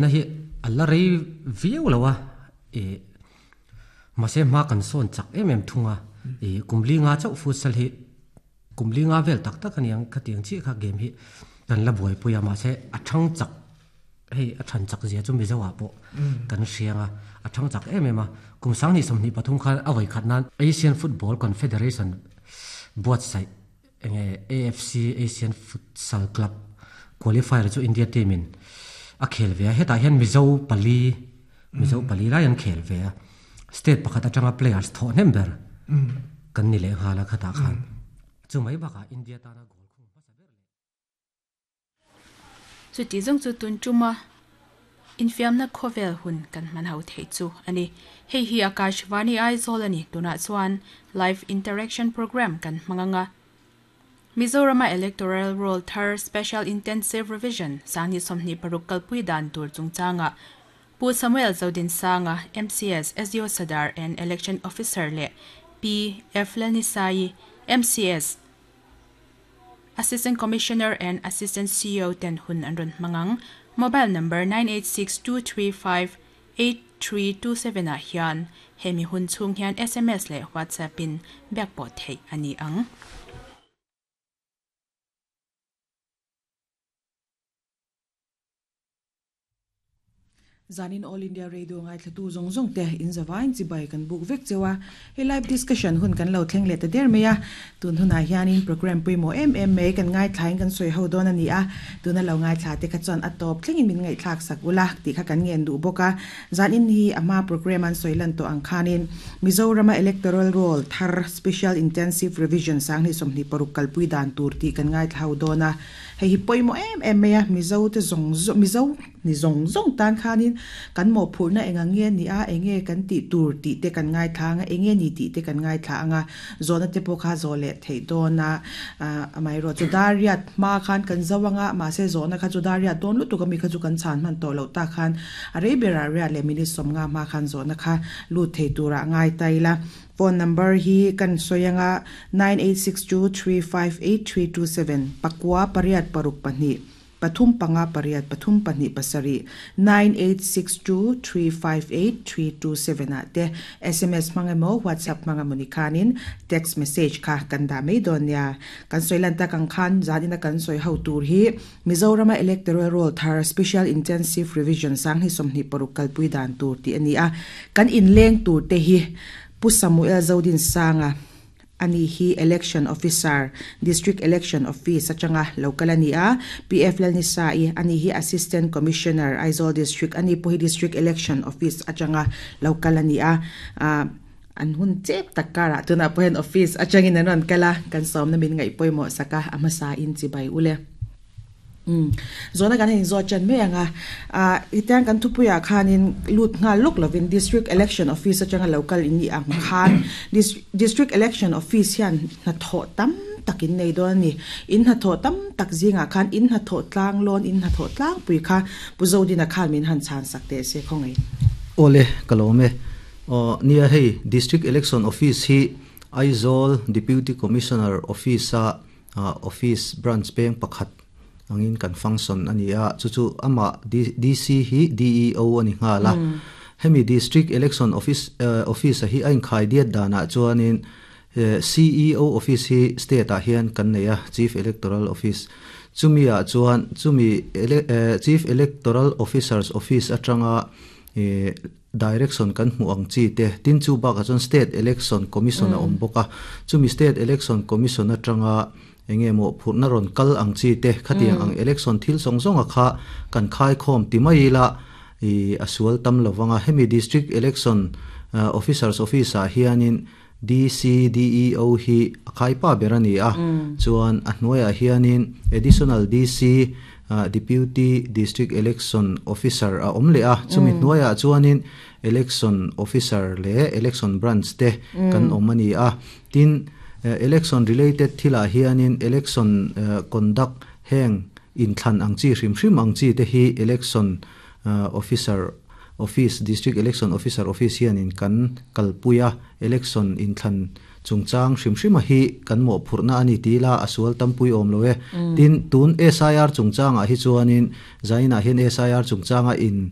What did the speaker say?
Na hi a la rei viau lo a, ih mahse hma kan sawn chak em em thung a, ih kum li nga chauh futsal hi kum li nga vel tak tak a niang khatiang chiah kha game hi kan la buaipui a, mahse a thang chak hei a than chak zia chu Mizo ah pawh kan hriang a, a thang chak em em a, kum sanghnih 23 khan a vawi khat nan Asian Football Confederation buatsaih Enge AFC Asian Futsal Club qualifier chu India team in a khel ve a, hetah hian Mizo pali Mizo pali lai an khel ve a, state pakhat atanga players thawh hnem ber kan ni leh nghal a khatah khan chu mai bakah India tana goal khung hmasa ber leh. Chuti zawng chu tun tuma infiamna khawvel hun kan hman ho theih chu a ni. Hei hi Akashvani Aizawl a ni. Tunah chuan Live Interaction Programme kan hmang ang a. Mizorama Electoral Roll thar Special Intensive Revision 2026 kalpui dan tur chungchangah Pu Samuel Zodinsanga, MCS, SDO Sadar and Election Officer leh Pi F Lalnisaii, MCS, Assistant Commissioner and Assistant CEO ten hun an rawn hmang ang. Mobile number 9862358327 ah hian hemi hun chhung hian sms leh WhatsApp in biak pawh theih a ni ang. Zanin All India Radio ngaithlatu zawng zawng te in zavain chibai kan buk vek cheu a, hei live discussion hun kan lo thleng leh ta der mai a, tun hunah hianin programme pawimawh em em mai kan ngaithlain kan sawi ho dawn a ni a, tuna lo ngaithla te kha chuan a tawp thlengin min ngaihthlak sak ula tih kha kan ngen duh bawk a, zanin hi a hma programme an sawi lan tawh ang khanin Mizorama Electoral Roll thar Special Intensive Revision 2026 kalpui dan tur tih kan ngaithla ho dawn a, hei hi pawimawh em em mai a, Mizo te zawng zawng Mizo Ni zawng zawng tan khanin kan mawhphurhna eng ang nge ni a, eng nge kan tih tur tih te kan ngaithla ang a, eng nge ni tih te kan ngaithla ang a, zawhna te pawh kha zawh leh theih dawn a, amaherawh chu dar riat hma khan kan zo ang a, mahse zawhna kha chu dar riat dawn lutuk ami kha chu kan chhan hman tawh loh tak khan a rei berah riat leh minute 50 hma khan zawhna kha lut thei turah ngai ta ila. Phone number hi kan sawi ang a, 9862358327, pakua pariat paruk pahnih. Pathum panga pariat pathum pahnih pasarih, 9862358327 ah te sms hmang emaw WhatsApp hmang emaw ni khanin text message kha kan dah mai dawn nia. Kan sawi lan tak ang khan zanin a kan sawi ho tur hi Mizorama Electoral Roll thar Special Intensive Revision 2026 kalpui dan tur tih a ni a. Kan inleng tur te hi Pu Samuel Zodinsanga, Ani hi Election Officer, District Election Office atanga lo kal a ni a, PF Lalnisa-i, ani hi Assistant Commissioner, Aizawl District, ani pawh hi District Election Office atanga lo kal a ni a. An hun chep tak karah tunah pawh hian office atangin an rawn kal a, kan sawmna min ngaih pawimawh sak a, a hmasain chibai ule. Umm. Zawhna kan han inzawt ṭan mai ang a. Ah, hetiang kan thupuiah khanin lut nghal lawk lovin District Election Office aṭanga lo kal in nih ang khan District Election Office hian hnathawh tam tak in nei dawn a ni. In hnathawh tam tak zingah khan in hnathawh tlang lawn, in hnathawh tlangpui kha Pu Zodina khan min han chhan sak teh se khawngaih. Awle, ka lawm e. Aw, nia hei District Election Office hi Aizawl Deputy Commissioner Office-a Office branch peng pakhat angin kan function a ni a, chu chu amah DC hi DEO a ni nghal a. Hemi District Election Office Office a hi a inkhai diat danah chuanin CEO Office hi state ah hian kan nei a, Chief Electoral Office. Chumi ah chuan chumi Chief Electoral Officer's Office atanga Direction kan hmuh ang chi te, tin chu bakah chuan State Election Commission a awm bawk a, chumi State Election Commission atanga eng nge maw phurhna rawn kal ang chi te, khatiang ang election thil zawng zawnga kha kan khaikhawm ti mai ila i a sual tam lo vang a, hemi District Election Officers Office ah hianin DC, DEO hi a khaipa ber a ni a, chuan a hnuaiah hianin Additional DC, Deputy District Election Officer a awm leh a, chumi hnuaiah chuanin Election Officer leh Election Branch te kan awm a ni a. Tin, Election related thilah hianin Election Conduct heng inthlan ang chi hrim hrim ang chi te hi Election Officer Office, District Election Officer Office hianin kan kalpui a, Election inthlan. Chungchang hrim hrima hi kan mawhphurhna a ni ti ila a sual tampui awm lo e. Tin, tun SIR chungchangah hi chuanin Zainah hian SIR chungchanga in.